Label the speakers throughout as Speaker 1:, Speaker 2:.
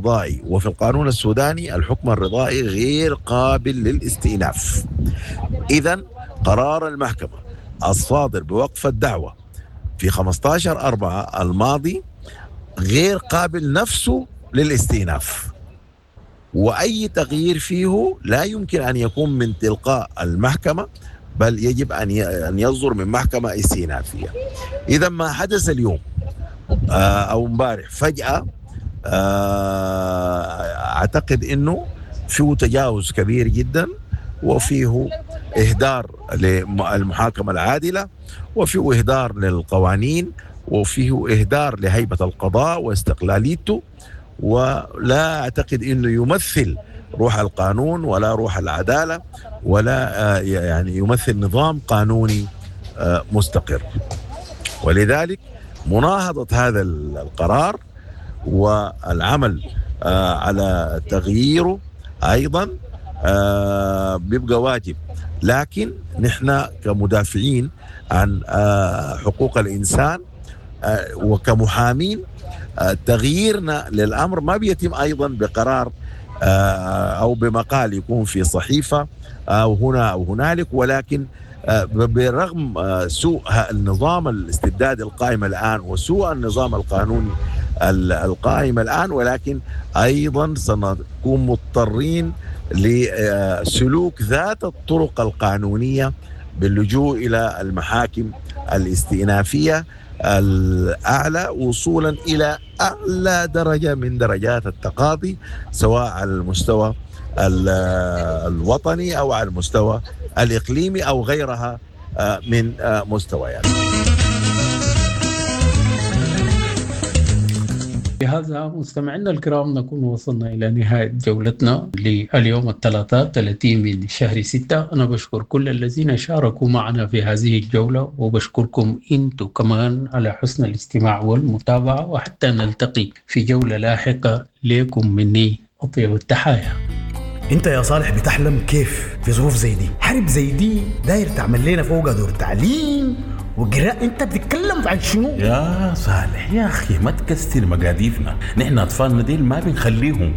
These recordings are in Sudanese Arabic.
Speaker 1: رضائي، وفي القانون السوداني الحكم الرضائي غير قابل للاستئناف. إذا قرار المحكمة الصادر بوقف الدعوة في 15/4 الماضي غير قابل نفسه للاستئناف، وأي تغيير فيه لا يمكن أن يكون من تلقاء المحكمة، بل يجب أن يصدر من محكمة استئنافية. إذا ما حدث اليوم أو امبارح فجأة، أعتقد أنه فيه تجاوز كبير جدا، وفيه إهدار للمحاكمة العادلة، وفيه إهدار للقوانين، وفيه إهدار لهيبة القضاء واستقلاليته، ولا أعتقد أنه يمثل روح القانون ولا روح العدالة ولا يمثل نظام قانوني مستقر. ولذلك مناهضة هذا القرار والعمل على تغييره أيضا بيبقى واجب. لكن نحن كمدافعين عن حقوق الإنسان وكمحامين، تغييرنا للأمر ما بيتم أيضا بقرار أو بمقال يكون في صحيفة أو هنا أو هنالك، ولكن برغم سوء النظام الاستبدادي القائم الآن وسوء النظام القانوني القائم الآن، ولكن أيضا سنكون مضطرين لسلوك ذات الطرق القانونية باللجوء إلى المحاكم الاستئنافية الأعلى وصولا إلى أعلى درجة من درجات التقاضي، سواء على المستوى الوطني أو على المستوى الإقليمي أو غيرها من مستويات.
Speaker 2: بهذا مستمعينا الكرام نكون وصلنا إلى نهاية جولتنا لليوم الثلاثاء 30 من شهر 6. أنا بشكر كل الذين شاركوا معنا في هذه الجولة، وبشكركم أنتم كمان على حسن الاستماع والمتابعة، وحتى نلتقي في جولة لاحقة. لكم مني أطيب التحايا.
Speaker 3: انت يا صالح بتحلم كيف في ظروف زي دي؟ حرب زي دي داير تعمل لنا فوق دور تعليم وقراءة، انت بتتكلم عن شنو؟
Speaker 4: يا صالح يا اخي ما تكسر مقاديفنا، نحن اطفالنا ديل ما بنخليهم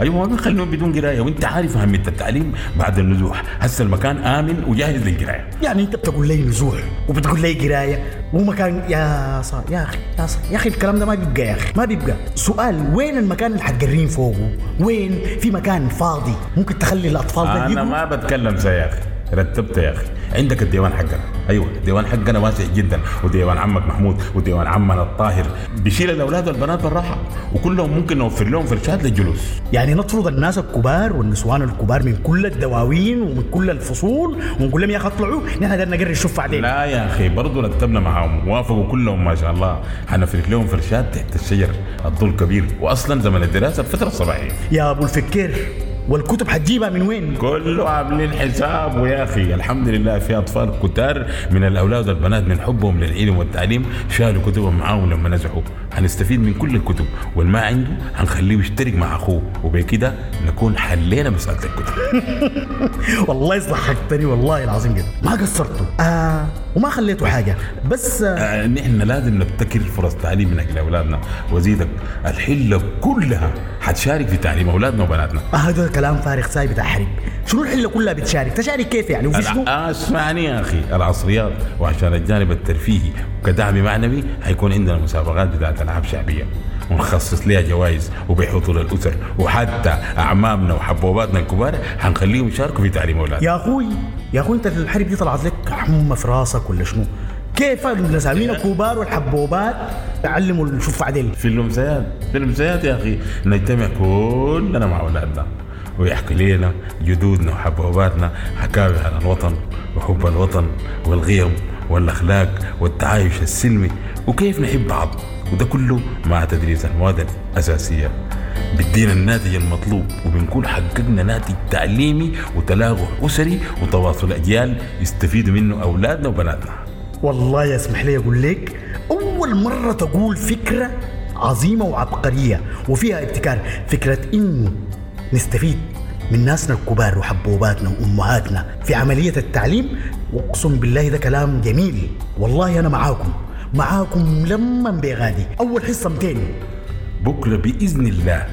Speaker 4: ايوه ما بنخليهم بدون قرايه، وانت عارف اهميه التعليم بعد النزوح. هسه المكان امن وجاهز للقرايه.
Speaker 3: يعني انت بتقول لي نزوح وبتقول لي قرايه ومكان؟ يا صالح يا اخي يا صالح يا اخي الكلام ده ما بيبقى يا اخي، ما بيبقى. سؤال، وين المكان اللي حتقرين فوقه؟ وين في مكان فاضي ممكن تخلي الاطفال ده؟
Speaker 4: انا ما بتكلم زي يا اخي، رتبت يا اخي. عندك الديوان حقنا، ايوه الديوان حقنا واسع جدا، وديوان عمك محمود وديوان عمنا الطاهر بيشيل الاولاد والبنات بالراحه، وكلهم ممكن نوفر لهم فرشات للجلوس.
Speaker 3: يعني نطرد الناس الكبار والنسوان الكبار من كل الدواوين ومن كل الفصول ونقول لهم يا اخي اطلعوا، نحن قدرنا نقري الشوف بعدين.
Speaker 4: لا يا اخي برضه رتبنا معاهم، وافقوا كلهم ما شاء الله. حنفرش لهم فرشات تحت الشجر، الظل كبير، واصلا زمن الدراسه الفتره الصباحيه.
Speaker 3: يا ابو الفكير، والكتب حتجيبها من وين؟
Speaker 4: كله عاملين حساب ويا اخي الحمد لله. في اطفال كتار من الاولاد والبنات من حبهم للعلم والتعليم شالوا كتبهم معاهم لما نزحوا. هنستفيد من كل الكتب، والما عنده هنخليه يشترك مع اخوه، وبكده نكون حلينا مساله الكتب.
Speaker 3: والله ضحكتني والله العظيم جدا، ما قصرتوا وما خليتوا حاجه. بس
Speaker 4: نحن لازم نبتكر فرص تعليم من اجل اولادنا، وزيدك الحله كلها حتشارك في تعليم اولادنا وبناتنا.
Speaker 3: هذا كلام فارغ ساي بتاع حرب. شنو الحله كلها بتشارك؟ تشارك كيف يعني؟ وفي شنو؟
Speaker 4: اسمعني يا اخي، العصريات وعشان الجانب الترفيهي وكدعم معنوي حيكون عندنا مسابقات بتاعت العاب شعبيه ونخصص لها جوائز وبحضور الاسر، وحتى اعمامنا وحبوباتنا الكبار حنخليهم يشاركوا في تعليم اولادنا.
Speaker 3: يا اخوي يا اخوي، انت الحرب دي طلعت لك حمى في راسك ولا شنو؟ كيف النسامين الكبار والحبوبات تعلموا الشوف عدل؟
Speaker 4: في الامسيات، في الامسيات يا اخي نجتمع كلنا مع اولادنا ويحكي لنا جدودنا وحبوباتنا حكاوي عن الوطن وحب الوطن والقيم والاخلاق والتعايش السلمي وكيف نحب بعض، وده كله مع تدريس المواد الأساسية بيدينا الناتج المطلوب، وبنكون حققنا ناتج تعليمي وتلاقح أسري وتواصل أجيال يستفيدوا منه أولادنا وبناتنا.
Speaker 3: والله يسمح لي أقول لك، أول مرة تقول فكرة عظيمة وعبقرية وفيها ابتكار، فكرة إنه نستفيد من ناسنا الكبار وحبوباتنا وأمهاتنا في عملية التعليم. وأقسم بالله ده كلام جميل والله. أنا معاكم لما بغادي أول حصة 200
Speaker 4: بكرة بإذن الله.